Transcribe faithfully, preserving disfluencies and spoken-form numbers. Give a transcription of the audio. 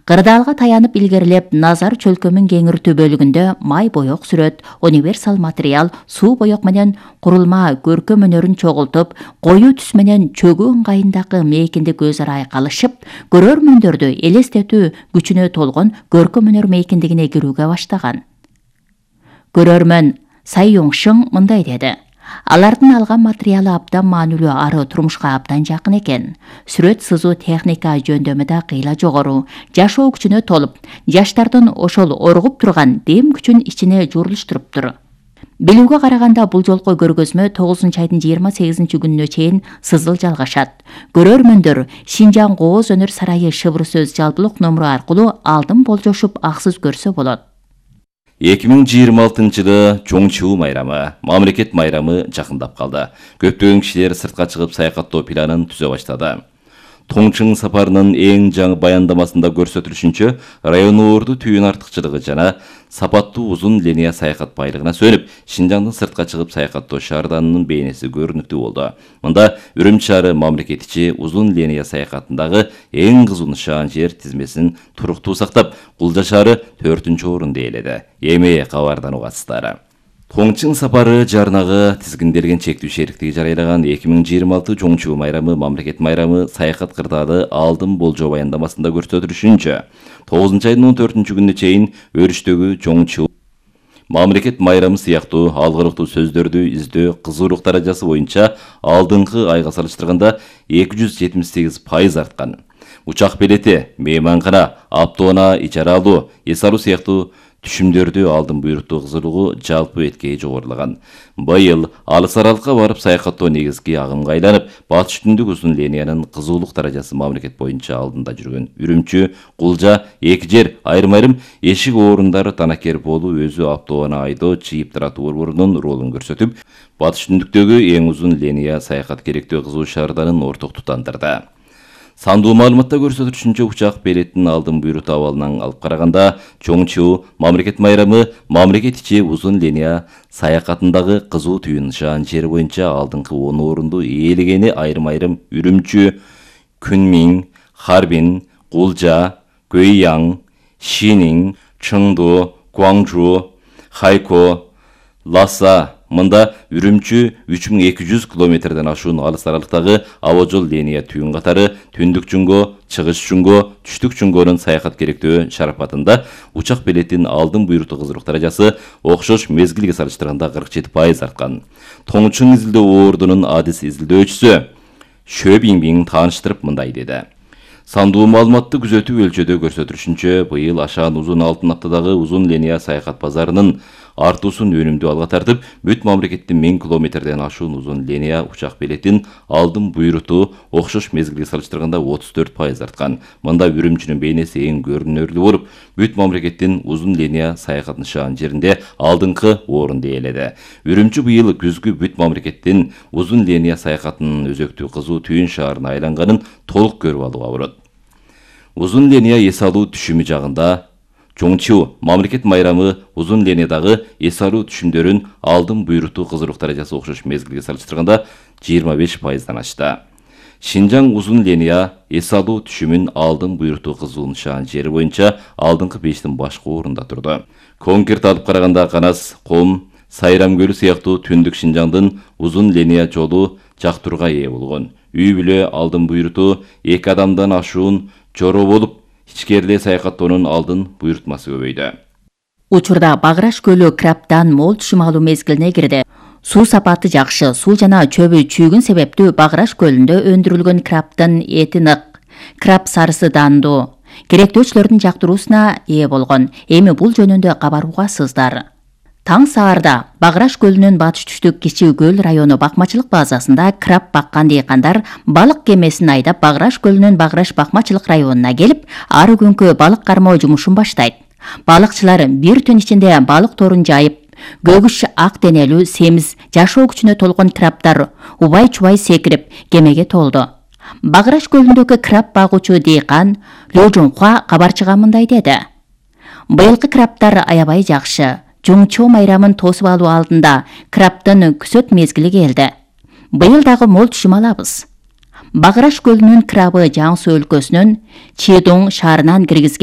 Кырдаалга таянып илгерилеп, назар чөлкөмүн кеңиртүү бөлүгүндө май боек сүрөт, универсал материал, суу боек менен курулма көркөм өнөрүн чогултуп, коюу түс менен чөгүү ыңгайындагы мейкиндик өз ара айкалышып, көрөрмөндөрдү элестетүү күчүнө толгон көркөм өнөр мейкиндигине кирүүгө баштаган. Көрөрмөн Цай Юңшың мындай деди: алардын алган материалы абдан маанилүү, ары турмушка абдан жакын экен. Сүрөт сызуу техника жөндөмү да кыйла жогору, жашоо күчүнө толуп, жаштардын ошол оргуп турган дем күчүн ичине журулуштуруптур. Билүүгө караганда бул жолку көргөзмө тогузунчу айдын жыйырма сегизинчи күнүнө чейин сызыл жалгашат. Көрөрмөндөр Шинжаң Кооз өнөр сарайы шыбыр сөз жалпылык номуру аркылуу алдын болжошуп аксыз көрсө болот. эки миң жыйырма алтынчы жылы Чоңчуу майрамы, мамлекет майрамы жакындап калды. Көптөгөн кишилер сыртка чыгып саякаттоо планын түзө баштады. Тоңчың сапарынын эң жаңы баяндамасында көрсөтүлүшүнчө, район орду түйүн артыкчылыгы жана сапаттуу узун линия саякат байлыгына сөнүп, Шинжаңдын сыртка чыгып саякаттоо шаарданынын бейнеси көрүнүктүү болду. Мында Үрүмчү шаары мамлекет ичи узун линия саякатындагы эң кызуу нышан жер тизмесин туруктуу сактап, Кулжа шаары төртүнчү орунду ээледи. Эми кабардан угасыздар. Тоңчың сапары жарнагы тизгинделген чектүү шериктиги жарыялаган эки миң жыйырма алты Чоңчуу майрамы, мамлекет майрамы саякат кырдаалы алдын болжоо баяндамасында көрсөтүлүшүнчө, тогузунчу айдын он төртүнчү күнүнө чейин өрүштөгү Чоңчуу мамлекет майрамы сыяктуу алгырыктуу сөздөрдү издөө кызуулук даражасы боюнча алдыңкы айга салыштырганда эки жүз жетимиш сегиз пайыз арткан. Учак билети, мейманкана, автоунаа ичара алуу, эс алуу сыяктуу түшүмдөрдү алдын буйруктуу кызуулугу жалпы эткеи жогорулаган. Быйыл алыс аралыкка барып саякаттоо негизги агымга айланып, батыш түндүк узун линиянын кызуулук даражасы мамлекет боюнча алдында жүргөн Үрүмчү, Кулжа, эки жер айрым-айрым эшик оорундар танакер болуу өзү автоунаа айдоо чыйып таратуу борборунун ролун көрсөтүп, батыш түндүктөгү эң узун линия саякат керектөө кызуу шаарданын орток тутандырды. Сандуу маалыматта көрсөтүлүшүнчө, учак билетин алдын буйруктуу абалынан алып караганда, Чоңчуу мамлекет майрамы мамлекет ичи узун линия саякатындагы кызуу түйүн нышан жер боюнча алдыңкы он орунду ээлегени айрым-айрым Үрүмчү, Күнмиң, Харбин, Кулжа, Көйяң, Шиниң, Чыңду, Гуаңжу, Хайко, Ласа. Мында Үрүмчү үч миң эки жүз километрден ашуун алыс аралыктагы аба жол линия түйүн катары түндүк Чуңго, чыгыш Чуңго, түштүк Чуңгонун саякат керектөө шарапатында учак билетин алдын буйруктуу кызуулук даражасы окшош мезгилге салыштырганда кырк жети пайыз арткан. Тоңчың изилдөө ордунун адис изилдөөчүсү Шө Биңбиң тааныштырып мындай деди: Сандуу маалыматты күзөтүү өлчөдө көрсөтүлүшүнчө, быйыл Ашаан узун алтын аптадагы узун линия саякат базарынын артуусун өнүмдүү алга тартып, бүт мамлекеттин миң километрден ашуун узун линия учак билетин алдын буйруктуу окшош мезгилге салыштырганда отуз төрт пайыз арткан. Мында Үрүмчүнүн бейнеси эң көрүнөрлүү болуп, бүт мамлекеттин узун линия саякат нышан жеринде алдыңкы орунду ээледи. Үрүмчү быйыл күзгү бүт мамлекеттин узун линия саякатынын өзөктүү кызуу түйүн шаарына айланганын толук көрүп алууга болот. Узун линия эс алуу түшүмү жагында Чоңчуу мамлекет майрамы узун линиядагы эс алуу түшүмдөрүн алдын буйруктуу кызуулук даражасы окшош мезгилге салыштырганда жыйырма беш пайыздан ашты. Шинжаң узун линия эс алуу түшүмүн алдын буйруктуу кызуу нышан жери боюнча алдыңкы бештин башкы орунда турду. Конкерт алып караганда Канас, Ком, Сайрам көлү сыяктуу түндүк Шинжаңдын узун линия жолу жактырууга ээ болгон. Үй бүлө алдын буйруктуу эки адамдан ашуун жороо болуп, ичкериле саякаттоонун алдын буйрутмасы көбөйдү. Учурда Баграш көлү крабтан мол түшүм алуу мезгилине кирди. Суу сапаты жакшы, суу жана чөбү чүйгүн себептүү Баграш көлүндө өндүрүлгөн крабтын эти нык, краб сарысы дандуу, керектөөчүлөрдүн жактыруусуна ээ болгон. Эми бул жөнүндө кабар угасыздар. Таң саарда Баграш көлүнүн батыш түштүк Кичи көл району бакмачылык базасында краб баккан дыйкандар балык кемесин айдап Баграш көлүнүн Баграш бакмачылык районуна келип, ары күнкү балык кармоо жумушун баштайт. Балыкчылар бир түн ичинде балык торун жайып, көгүш ак денелүү, семиз, жашоо күчүнө толгон крабдар убай-чубай секирип кемеге толду. Баграш көлүндөгү краб багуучу дыйкан Лёжунхуа кабарчыга мындай деди: Быйылкы крабдар аябай жакшы. Чоңчуу майрамын тосуп алуу алдында крабтын күзөт мезгили келди. Быйыл дагы мол түшүм алабыз. Баграш көлүнүн крабы Жаңсу өлкөсүнүн Чедоң шаарынан киргизген